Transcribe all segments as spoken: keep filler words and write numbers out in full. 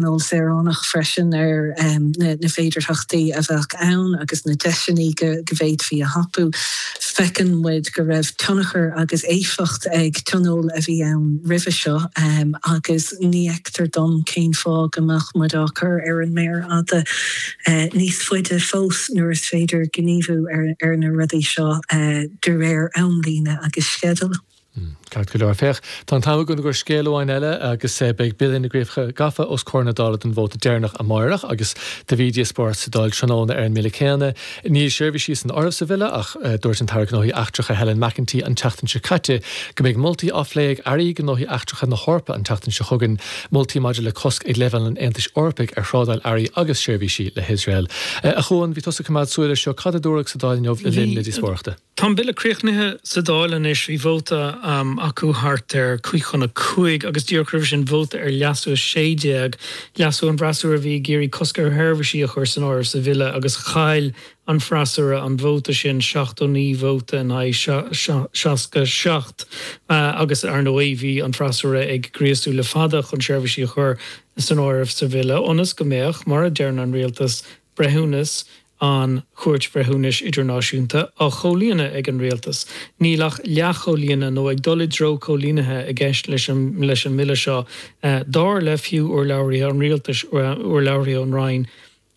Tionól Saoránach freisin ar na féidearthachtaí a bheadh ann agus na deiseanna go bhféadfaí a thapú. Feiceann muid go raibh tionchar agus éifeacht ag tionól a bhí ann roimhe seo agus ní fheictear dom cén fáth go mbeadh muid á cur ar an méar fhada níos faide fós nuair is féidir gníomhú ar na rudaí seo de réir amlíne agus sceidil. Ceart go leor. Féach, tá an t-am againn do scéal amháin eile agus beidh Bille na gCríocha Gafa os comhair na Dála don vóta deireanach amárach agus do bhí díospóireacht sa Dáil tráthnóna ar an mbille céanna. Níl seirbhísí san áireamh sa bhille ach dúirt an tAire Gnóthaí Eachtracha Helen McEntee an tseachtain seo caite go mbeidh moltaí á phlé ag Airí Gnóthaí Eachtracha na hEorpa an tseachtain seo chugainn, moltaí maidir le cosc ag leibhéal an Aontais Eorpaigh ar thrádáil earraí agus seirbhísí le hIosrael. A Chuain, bhí tusa ag coimeád súil air seo, cad a dúradh sa Dáil inniu le linn na díospóireachta? Tá an bille críochnaithe sa Dáil anois, bhí vóta acu thart ar cúig chun a cúig agus díreach roimhe sin vóta ar leasú a sé déag, leasú an bhfreasúra a bhí ag iarraidh cosc ar sheirbhísí a chur san áireamh sa bhille agus chaill an freasúra an vóta sin, seachtó naoi vóta in aghaidh seasca seacht agus ar ndóigh bhí an freasúra ag gríosú le fada chun seirbhísí a chur san áireamh sa bhille ionas go mbeadh, mar a deireann an rialtas, breithiúnas an Chúirt Bhreithiúnais Idirnáisiúnta á chomhlíonadh ag an rialtas. Níl ach leathchomhlíonadh nó ag dul i dtreo comhlíonaithe i gceist leis an leis an mbille seo, dar le fiú urlabhraithe an rialtais, urlabhraithe ón Roinn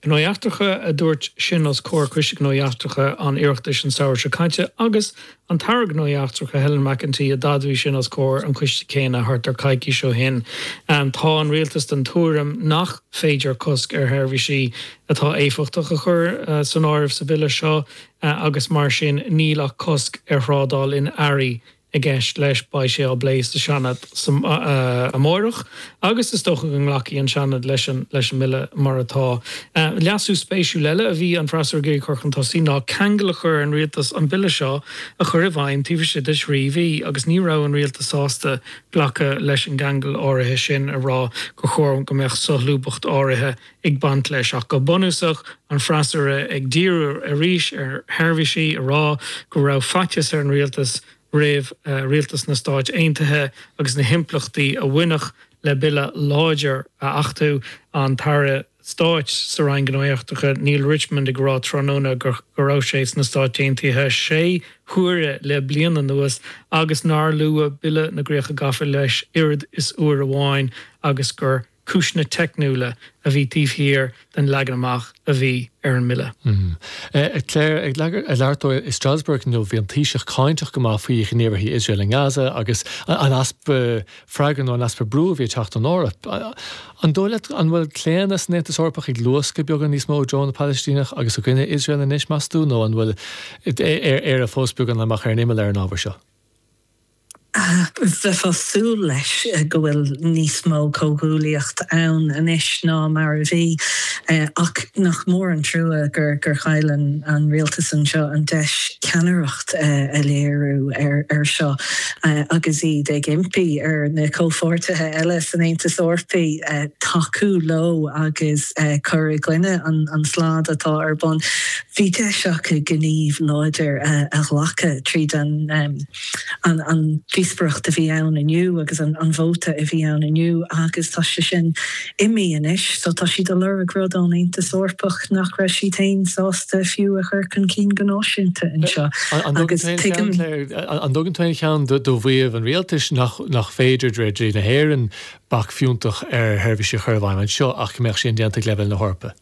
Gnóthaí Eachtracha a dúirt sin os comhair Coiste Gnóthaí Eachtracha an Oireachtais an samhradh seo caite agus an tAire Gnóthaí Eachtracha Helen McEntee a d'admhaigh sin os comhair an choiste céanna thart ar coicís ó shin. Tá an rialtas den tuairim nach féidir cosc ar sheirbhísí atá éifeachtach a chur san áireamh sa bhille seo agus mar sin níl ach cosc ar thrádáil in earraí i gceist leis. Beidh sé á bplé sa Seanad amárach agus is dócha go nglacfaidh an Seanad leis an leis an mbille mar atá. Leasú spéisiúil eile a bhí an freasúra ag iarraidh cur chun tosaigh ná ceangal a chur ar an rialtas an bille seo a chur i bhfeidhm taobh istigh de thrí mhí agus ní raibh an rialtas sásta glacadh leis an gceangal áirithe sin a rá gur chóir go mbeadh solúbthacht áirithe ag baint leis. Ach go bunúsach, an freasúra ag díriú arís ar sheirbhísí, a rá go raibh faitíos ar an rialtas roimh rialtas na Stáit Aontaithe agus na himpleachtaí a bhainfeadh le bille láidir a achtú, an tAire Stáit sa Roinn Gnóthaí Eachtracha Neale Richmond ag rá tráthnóna go raibh sé sna Stáit Aontaithe sé huaire le bliain anuas agus nár luadh Bille na gCríocha Gafa leis oiread is uair amháin agus gur cúiseanna teicniúla a bhí taobh thiar den leagan amach a bhí ar an mbille. Claire, ag labhairt dó i Strasbourg inniu, bhí an Taoiseach cáinteach go maith faoi ghníomhartha Iosrael i nGaza agus an easpa freagra nó an easpa brú a bhí ag teacht ón Eoraip. An dóigh leat an bhfuil claonadh san Aontas Eorpach ag luascadh beagán níos mó i dtreo na Palaistíneach agus i gcoinne Iosrael anois, meas tú, nó an bhfuil Éire fós beagán amach ar an imeall ar an ábhar seo? Bheifeá ag súil leis go bhfuil níos mó comhghuaillíocht ann anois ná mar a bhí, ach nach mór an trua gur chaill an rialtas anseo an deis ceannaireacht a léiriú ar seo agus iad ag impí ar na comhpháirtithe eile san Aontas Eorpaigh tacú leo agus cur i gcoinne an slad atá ar bun. Bhí deis acu gníomh láidir a ghlacadh tríd an an díospóireacht a bhí ann inniu agus an vóta a bhí ann inniu agus tá sé sin imithe anois so tá siad ag lorg rud ón Aontas Eorpach nach raibh siad féin sásta fiú a chur chun cinn go náisiúnta anseo agus tuigim An dtugann tú aon cheann do mhaíomh an rialtais nach féidir de réir dlí na hÉireann bac fiúntach ar sheirbhísí a chur i bhfeidhm anseo ach go mbeadh sé indéanta ag leibhéal na hEorpa?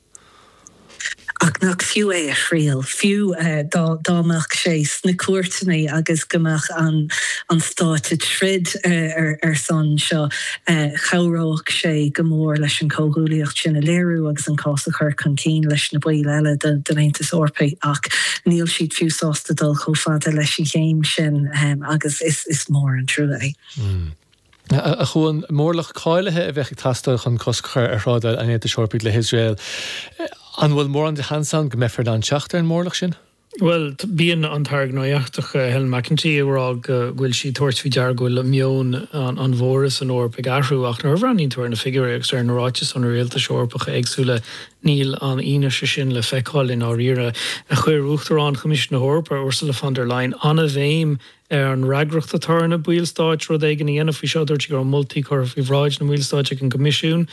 Ach nach fiú é a thriail, fiú dá dá mbeadh sé sna cúirteanna agus go mbeadh an an stát ag troid ar ar son seo, chabhródh sé go mór leis an chomhghuaillíocht sin a léiriú agus an cás a chur chun cinn leis na baill eile den Aontas Eorpaigh. Ach níl siad fiú sásta dul chomh fada leis an chéim sin agus is is mór an trua é. A Chuain, mórlach cáilithe a bheadh ag teastáil chun cosc a chur ar thrádáil an Aontais Eorpaigh le hIosrael. An bhfuil mórán de sheans ann go mbeifear in ann teacht ar an mórlach sin? Bhuel, bíonn an tAire Gnóthaí Eachtracha Helen McEntee ag rá go bhfuil sí ag tabhairt faoi deara go bhfuil meon an mhóraimh san Eoraip ag athrú ach nuair a bhreathnaíonn tú ar na figiúirí agus ar na ráitis ó na rialtais Eorpacha éagsúla níl an fhianaise sin le feiceáil i ndáiríre. Chuir Uachtarán Choimisiún na hEorpa, Ursula von der Leyen, an-bhéim ar an fhreagracht atá ar na ballstáit rud éigin a dhéanamh faoi seo. Dúirt sí go raibh moltaí curtha faoi bhráid na mballstát ag an gCoimisiún.